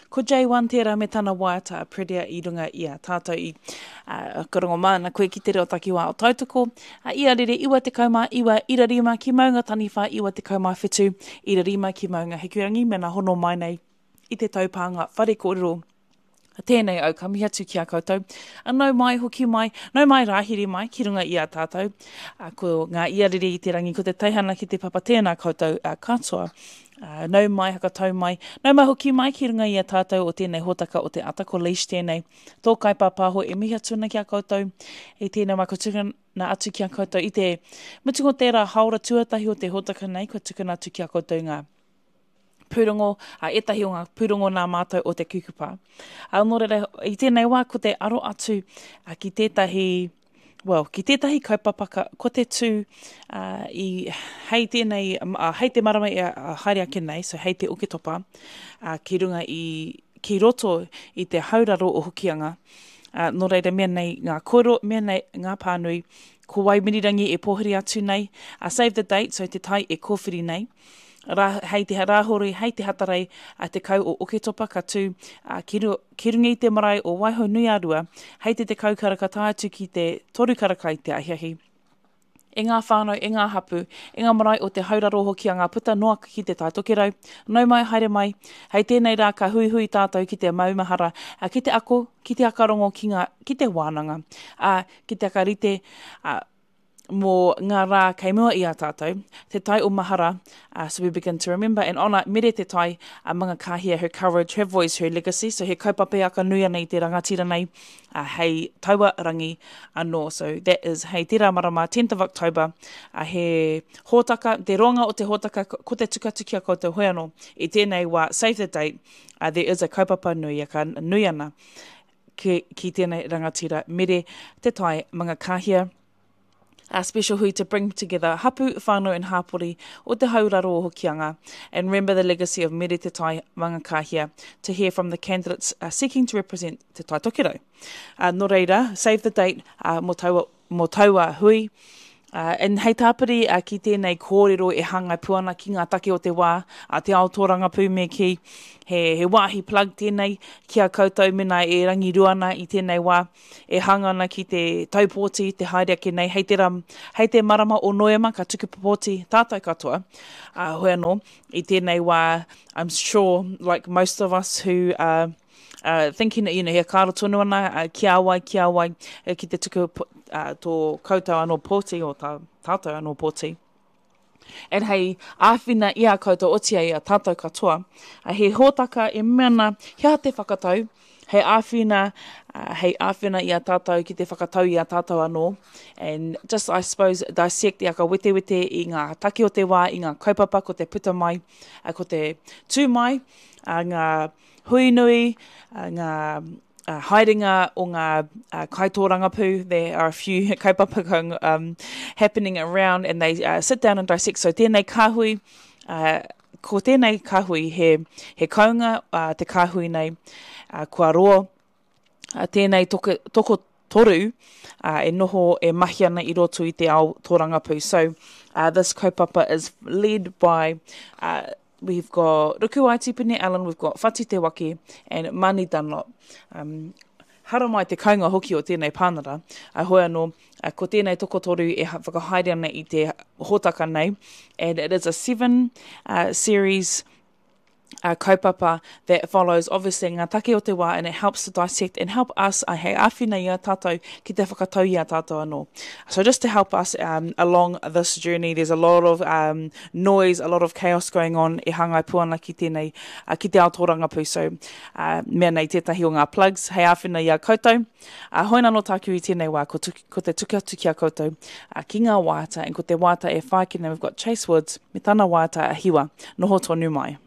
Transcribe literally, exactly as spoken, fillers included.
Ko J one tērā me tana waiata a Predia i runga i a tātou i uh, ka rongo māna koe ki te reo takiwā o Tautoko. Uh, ia rere iwa tekau mā iwa ira rima ki Maunga Taniwha iwa tekau mā whitu ira rima ki Maunga Hikurangi mena hono mai nei i te taupānga whare kōrero. Tēnei au, ka mihi atu ki a koutou. A nau mai, hoki mai, nau mai rāhiri mai ki runga i a tātou. A, ko ngā iarere i te rangi, ko te teihana ki te papa, tēnā koutou a, katoa. A, nau mai, hakatau mai, nau mai hoki mai ki runga i a tātou o tēnei hōtaka o te ata, ko Leish tēnei. Tō kaipāpāho e mihi atu ana ki a koutou i tēnei wā, ko tukuna atu ki a koutou i te mutunga o tērā haora tuatahi o te hōtaka nei, kua tukuna atu ki a koutou ngā pūrongo, a ētahi o ngā pūrongo nā mātou o te kukupa. A, nō reira, i tēnei wā, ko te aro atu, a, ki tētahi, well, ki tētahi kaupapa ka, ko te tū, a, i, hei tēnei, a, hei te marama e, a, haere ake nei, so hei te Oketopa, a, ki runga i, ki roto i te hauraro o Hokianga. A, nō reira, mea nei ngā kōrero, mea nei ngā pānui, ko Waimirirangi e pōhiri atu nei, a, save the date, so te tai e kōwhiri nei. Rā, hei te rāhori, hei te hatarei, a te kau o Oketopa ka tū, a, ki ru-, ki runga i te marae o Waihou-nui-a-Rua, hei te tekau karaka tae atu ki te toru karaka i te ahiahi. E ngā whānau, e ngā hapu, e ngā marae o te hauraro hoki a ngā puta noa ki te Tai Tokerau. Nau mai, haere mai, hei tēnei rā ka huihui tātou ki te maumahara, a, ki te ako, ki te akarongo, ki ngā, ki te wānanga, a, ki te akarite, a, mō ngā rā kei mua i a tātou, te tai o mahara, uh, so we begin to remember and honour Mere te tai, a Mangakāhia, her courage, her voice, her legacy, so he kaupapa e aka nui ana i te rangatira nei, uh, hei taua rangi anō. So that is hei tērā marama, tenth of October, uh, he hōtaka, te roanga o te hōtaka, ko te tukatu ki a koutou hoi anō, i tēnei wā, save the date, uh, there is a kaupapa nui, aka nui ana ki, ki tēnei rangatira, Mere te tai Mangakāhia. A special hui to bring together hapu, whānau and hāpori o te hauraro o Hokianga and remember the legacy of Mere Te Tai Mangakāhia to hear from the candidates, uh, seeking to represent Te Tai Tokerau. Uh, nō reira, save the date, uh, mō taua, mō taua hui. Uh, and hei tāpiri, uh, ki tēnei kōrero e hāngai pū ana ki ngā take o te wā, a te ao tōrangapū me ki he, he wāhi plug tēnei ki a koutou mena e rangirua ana i tēnei wā, e hanga ana ki te taupōti, te haere ake nei, hei te, ram, hei te marama o Noema ka tuku pōti tātou katoa. Uh, hoi anō, i tēnei wā, I'm sure, like most of us who are Uh, thinking, you know, he kāro tonu ana, uh, ki a wai, ki a wai, uh, ki te tuku po-, uh, tō koutou anō pōti, o tā, tātou anō pōti. And hei āwhina i a koutou otia i a tātou katoa, uh, he hōtaka e mea ana, he aha te whakatau, hei āwhina, uh, hei āwhina i a tātou ki te whakatau i a tātou anō. And just, I suppose, dissect i aka wetewete i ngā take o te wā, i ngā kaupapa ko te puta mai, uh, ko te tū mai, uh, ngā hui nui, uh, ngā, uh, haerenga o ngā, uh, kaitōrangapū. There are a few kaupapa going, um, happening around and they, uh, sit down and dissect. So tēnei kāhui, uh, ko tēnei kāhui he, he kaunga, uh, te kāhui nei, uh, kua roa, uh, tēnei toko, toko toru, uh, e noho e mahi ana i roto i te ao tōrangapū. So, uh, this kaupapa is led by, uh, we've got Rukuwai Tipene Allen, we've got Whati Te Wake and Mani Dunlop. Um, haramai te kaunga hoki o tēnei pānara. A hoi anō, a ko tēnei tokotoru e ha-, whakahaere ana i te hōtaka nei. And it is a seven, uh, series, uh, kaupapa that follows obviously ngā take o te wā, and it helps to dissect and help us, uh, hei āwhina i a tātou ki te whakatau i a tātou anō. So just to help us, um, along this journey, there's a lot of, um, noise, a lot of chaos going on e hāngai pū ana ki tēnei, uh, ki te ao tōrangapū. So, uh, mea nei tētahi o ngā plugs hei āwhina i a koutou. Uh, hoi nā nō tāku i tēnei wā, ko, tuki, ko te tuku atu ki a koutou, uh, ki ngā wāta, and ko te wāta e whāki nei, we've got Chase Woods me tana wāta a Hiwa. Noho tonu mai.